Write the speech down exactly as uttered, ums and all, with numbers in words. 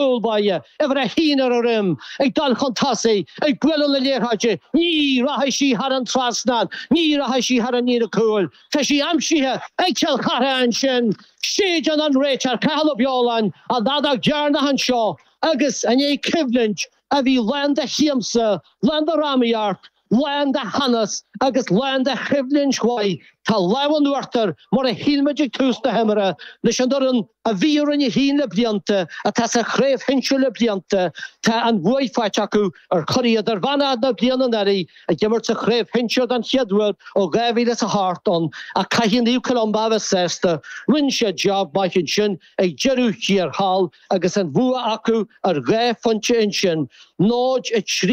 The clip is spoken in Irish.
Cúl báire, uimhir a haon ar an droim, ag dul chun tosaigh, ag bualadh na liathróide, ní rachaidh sí thar an trasnán, ní rachaidh sí thar an líne cúil. Tá sí aimsithe ag Cill Chartha ansin, séideann an réiteoir Cathal Ó Beoláin an fheadóg dheireanach anseo agus i ndiaidh coimhlint a bhí lán de shiamsa, lán de dhrámaíocht, lán de theannas agus lán de choimhlint mhaith. Tá lámh in uachtar mar a shíl muid ag tús na himeartha leis an fhoireann a bhí i Roinn a haon le blianta, atá sa chraobh shinsir le blianta, tá an bhuaidh faighte acu ar churaidh idirmheánach na bliana anuraidh ag imirt sa chraobh shinsir den chéad uair ó dhá mhíle is a hocht ann ach caithfidh Naomh Columba a bheith sásta. Rinne siad job maith ansin ag deireadh thiar thall agus an bhua acu ar dhá phointe ansin, náid a trí.